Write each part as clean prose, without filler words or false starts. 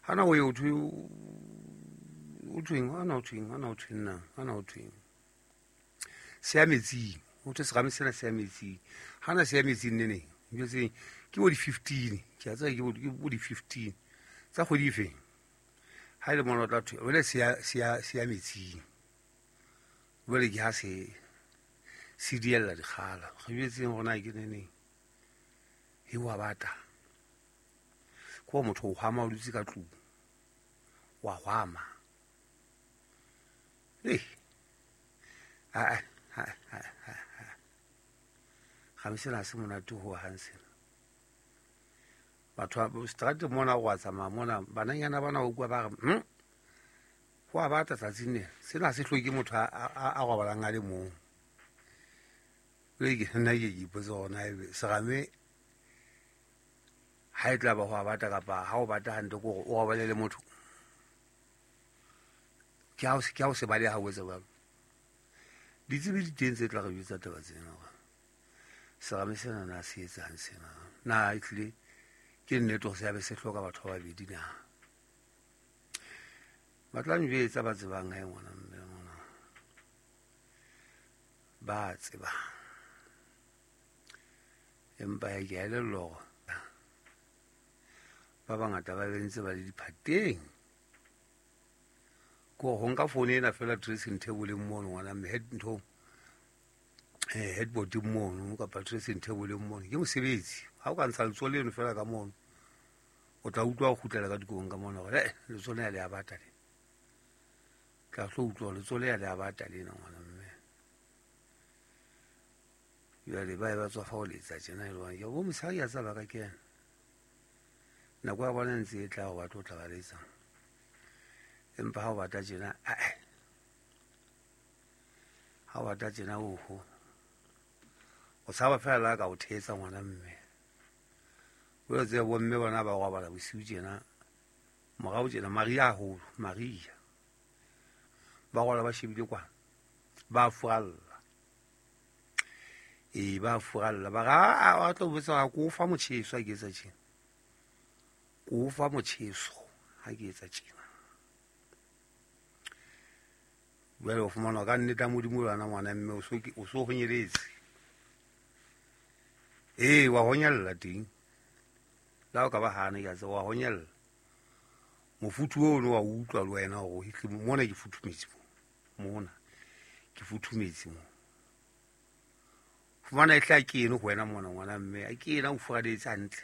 Ha na o ye o thwe o thweng, ha na o thweng, ha na o thweng na, ha na o thweng. Se ya metsing, ho thwe serame sena se ya metsing. Ha na se ya metsing ne neng, njwetseng ke bo di-15, ke a tseba ke bo di-15 tsa kgwedi e feng. Ha e le mona o tla thwe, jwale se ya metsing. Jwale ke ha se diella dikgala. Re jwetseng hore na ke ne neng. E wa bata. Ke wa motho o hwama o dutse ka tlung. Wa hwama. Ei. A a a a a. Ga se na se monate ho hang sena. Batho ba seterateng mona go a tsamaya mona, bananyana bana o kwa ba re, ho a bata tsatsing lena. Sena se hloke motho a robalang a le mong. Jwale ke nna ke ipotse hore na ebe serame ha e tla ba ho a bata kapa ha o bata hantle ke hore o robale le motho. Ke ha o se baleha o etsa jwalo. Ditsebi di teng tse tla re jwetsa taba tsena hore serame sena na se etsang sena. Na ehlile ke nnete hore se a be se hloka batho ba babedi na? Ba tla njwetsa ba tsebang hae ngwana mme ngwana. Ba tsebang. Empa ya ke a elellwa hore ba bangata ba bentse ba le diphateng. Ke hore ho nka phone ena feela dressing table mono ngwana mme head ntho, headboard mono kapa dressing table mono ke mosebetsi. Ha o ka ntsha letsoho leno feela ka mono, o tla utlwa o kgutlela ka dikobong ka mona hore, letsoho lena le a bata lena. Tla tlo utlwa letsoho lena le a bata lena ngwana mme. Jwale ba e ba tswa fa ho letsa tjena e le hore ke bo mosadi a tsaba ka kena. Nako ya bona ntse e tla ho batla ho tla ba letsa. Empa ha o bata tjena, ae. Ha o bata tjena oho. O tshaba feela la ka o thetsa ngwana mme. O tsebe bo mme bona ba robala bosiu tjena. Morao tjena Maria haholo, Maria. Ba robala ba shebile kwana. Ba furalla. Ee, ba furalla. Ba re, a, a tlo botsa ko fa motjheso ha ke etsa tjena. Ko fa motjheso ha ke etsa tjena. Jwale o fumana ka nnete ya Modimo lwana ngwana mme o so honyeletse. Ee, wa honyella teng. Le ha o ka ba hana ke a tseba, wa honyella. Mofuthu ono wa utlwa le wena hore ehlile mona ke futhumetse mo. Mona ke futhumetse mo. Fumana e tla ke eno ho wena mona ngwana mme, a ke ena o furaletse hantle.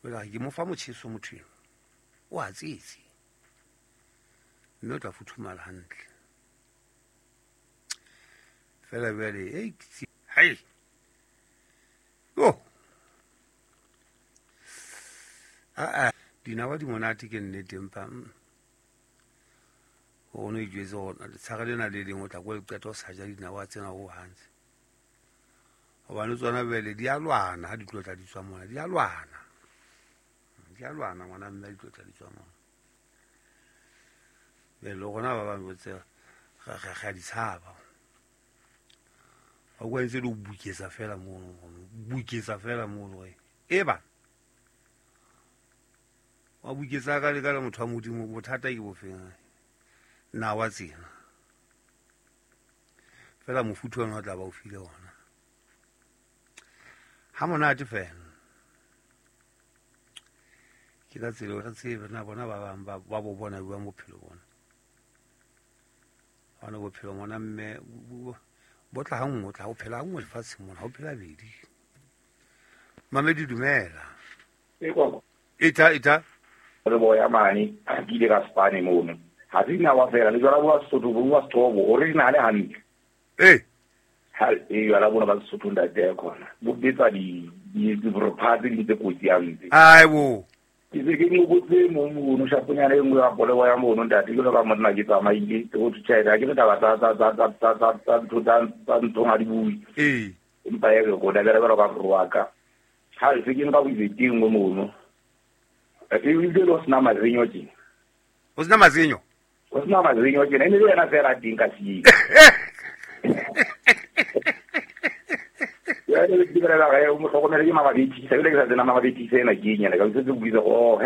Jwale ke mo fa motjheso motho eno. O a tsetse. Mme o tla futhumala hantle. Fela jwale, ei, hai. Yo. A, dinawa di monate ke nnete empa, o no ijwetse hore letshare lena le leng o tla ko le qeta o sa ja dinawa tsena ho hantle. Hobane tsona jwale di a lwana ha di tlo tla di tswa mona, di a lwana. Di a lwana ngwana mme di tlo tla di tswa mona. Jwale le rona ba bang botse ra di tshaba. Ba kwa ntse le ho buketsa fela mono, buketsa fela mono hore e ba. Wa buketsa ka le ka le motho wa Modimo, bothata ke bofeng? Nawa tsena. Fela mofuthu ona o tla ba o file ona. Ha monate fela. Ke ka tsela re tsebe na bona ba bang ba bo bona jwang bophelo bona. Hobane bophelo ngwana mme bo tla ha nngwe, o tla o phela ha nngwe lefatsheng mona, ha o phela bedi. Mamedi dumela. E kwa. Ita, ita. Re boya mane, a ke ile ka Spane mono. Ha se dinawa fela, le jwala bo Sesotho, bo bua Sethobo, original hantle. Ee. Ha e jwala bona ba Sesotho ntate ya khona. Bo betsa di bropha tse ding tse kotsi hampe. Ai bo. Ke se ke mo botse mo mono shaponyana e nngwe ya polebo ya mono ntate, ke ka monna ke tsamaile, ke go tjhaela, ke taba tsa tsa tsa tsa tsa tsa tsa ntho tsa tsa ntho ha di bue. Ee. Empa ya ke go dabela ba ka roa ka. Ha se ke nka boitse teng mo mono. E ile lo sna mazinyo tjena. O sna mazinyo? O sna mazinyo tjena, e ne le yena fela teng ka siye. Ya le ke bela ga o mo hlokomele ke mababedi, ke sa ile ke sa tsena mababedi tsena ke nyana ka se ke buitse go he